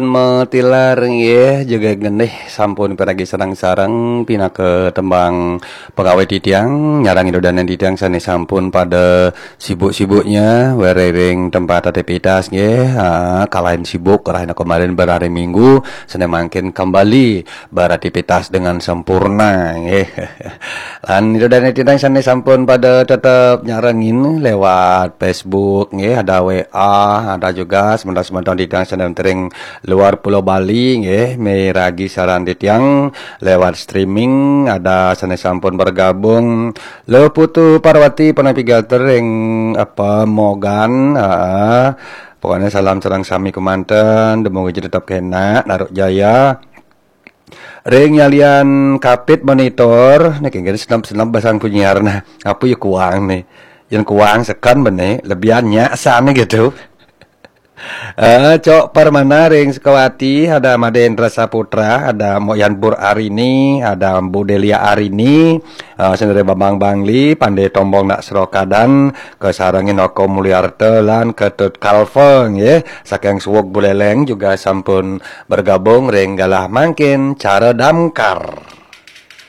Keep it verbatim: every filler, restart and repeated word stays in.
Metilar nggih, juga ngenih sampun piragi sareng-sareng pinaka tembang pengawit titiang, nyarengin ida dané titiang sané sampun pada sibuk-sibuknya wéréh ring tempat aktivitas nggih. Ha, kalahin sibuk rahina kemarin berhari Minggu, sané mangkin kembali beraktivitas dengan sempurna nggih. Lan ida dané titiang sané sampun pada tetep nyarengin lewat Facebook nggih, ada W A, ada juga semeton-semeton titiang sané ring luar Pulau Bali nggih, miragi siaran titiang lewat streaming, ada sané sampun bergabung. Lho Putu Parwati panapi gater ring apa Mogan, heeh. Pokoknya salam sareng sami kemanten, dumugi tetep kénak, naru jaya. Ring nyalian kapit monitor, niki nggih senep-senep basang punyiar nah. Apa ya kuang nih? Yang kuang sekan benih, lebihannya sana gitu. Eh, Cok Permana ring Sukawati, ada Madé Indra Saputra, ada Mok Yan Pur Arini, ada Bu Delia Arini, eh, Sendiri Bambang Bangli, Pandé Tombong Nak Serokadan, kesarengin Oko Mulyarta lan Ketut Kalfeng ya. Saking Suwuk Buleleng juga sampun bergabung ring galah mangkin cara damkar.